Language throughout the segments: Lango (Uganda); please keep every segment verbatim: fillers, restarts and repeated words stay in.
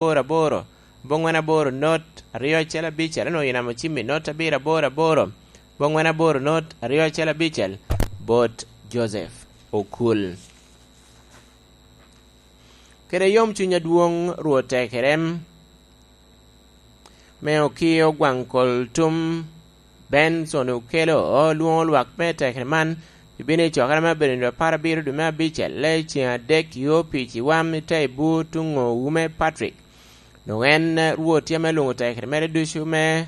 aboro aboro, abongwen aboro not aryo acel abicel, onwoŋo yinamo cimmi not abiro aboro aboro, abongwen aboro not aryo acel abicel, bot Joseph Okul. Kede yom cuny adwoŋ Rwot tekerem, me okio gwaŋ kol tum Benson Okelo, olwoŋo lwak me tekere man, ibino i cokere me abedo nino apar abiro dwe me abicel, le ceŋ adek i opic i wam i te i bur tuŋ owu me Patrick. Doŋ en Rwot tye ame lwoŋo tekere mere ducu me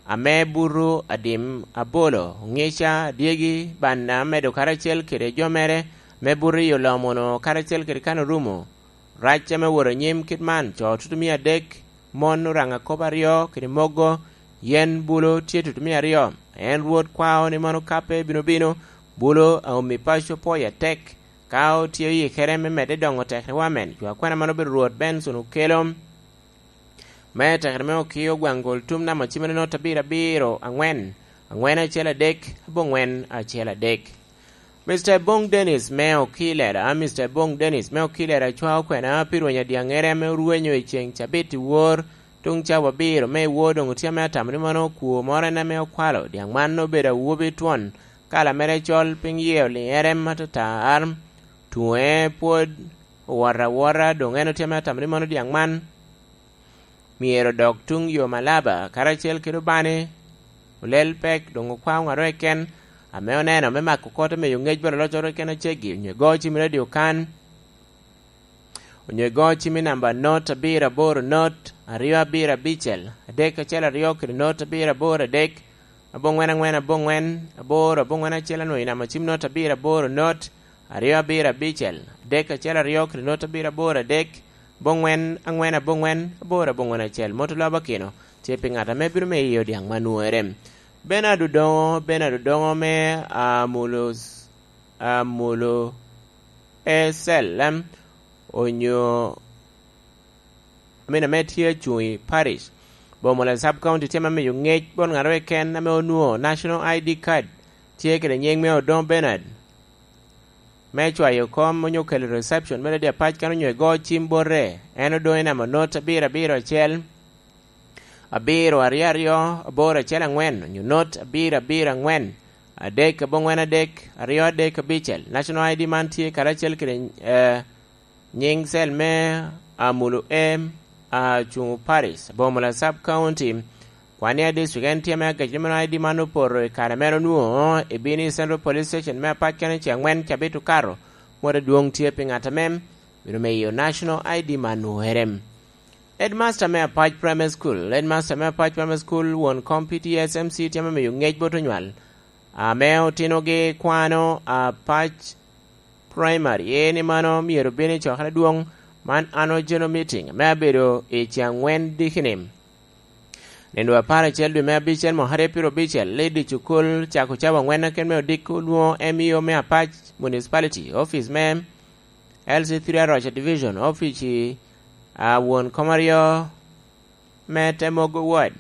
ame buto adim abolo, oŋica, adyegi, banna, medo karacel kede jo mere, me buto i olomono karacel kede kan orumo. Rac ame wot anyim kit man, co tutumia adek, mon oraŋa kop aryo kede mogo, yen bulo tye tutumia aryo. En Rwot kwao ni mano kape bino bino, bulo aomi paco pwoyo atek, ka otye oyikere me medde doŋo tekere wamen, jo akwena man obedo Rwot Benson Okelo. Me tekere me okio gwaŋ gol tum namba cimere not abiro abiro aŋwen, aŋwen acel adek, abongwen acel adek. Mister Bong Dennis me Okilera, Mister Bong Dennis me Okilera cwao kwena pi rwenyo adyaŋere ame orwenyo i ceŋ cabit i wor, tuŋ cawa abiro me i wor doŋ otye ame atamo ni mano okwo moro en ame okwalo dyaŋ man obedo awobi twon, kala mere col, piny yie oliŋere matar, tuŋe pwod owot awota, doŋ en otye ame atamo ni mano dyaŋ man myero odok tuŋ yo Malaba, karacel kede Obani, olel pek, doŋ okwa ŋat keken ame oneno me mako kot me yo ŋec bot aloc keken aceggi, onyo igo cim i radio kan, onyo igo cim i namba not abiro aboro not aryo abiro abicel adek acel aryo kede not abiro aboro adek, abongwen aŋwen abongwen aboro abongwen acel, anwoŋo i namba cim not abiro aboro not aryo abiro abicel adek acel aryo kede not abiro aboro adek, abongwen aŋwen abongwen aboro abongwen acel. Mot olaba kino tye pi ŋat ame bino me iyo dyaŋ ma nwoŋere. Benard Odoŋo, Benard Odoŋo me Amulo, Amulo Esel, em, onyo amin ame tye acuŋ i parish. Bomola Sub County tye me miyo ŋec bot ŋat keken ame onwoŋo National I D card, tye kede nyiŋ me Odoŋo Bernard, me cwayo kom onyo kelo reception me radio apac kan onyo igo cim bote. En Odoŋo i namba not abiro abiro acel, abiro aryo aryo, aboro acel aŋwen, onyo not abiro abiro aŋwen, adek abongwen adek, aryo adek abicel. National I D man tye karacel kede, eh, nyiŋ cell me Amulo M, Acuŋo Parish, Bomola Sub County, Kwania District. En tye me agec me I D man opoto i kare mere onwoŋo i Bini Central Police Station me apac kene ce aŋwen cabit okato. Mot adwoŋ tye pi ŋat amem bino miyo National I D man nwoŋere. Headmaster me Apac Primary School, Headmaster me Apac Primary School, won kom P T S M C tye me miyo ŋec bot onywal ame otinogi kwano Apac Primary, en i mano myero obin i cokere adwoŋ man Annual General Meeting me abedo i ce aŋwen dikini. Nino apar acel dwe me abicel mwaka aryo piro abicel, Lady Cukul cako cawa aŋwen keken me odiko lwoŋo M E O me Apac Municipality, office me L C three Aroca Division, office i, a, won kom aryo me Temogo Ward.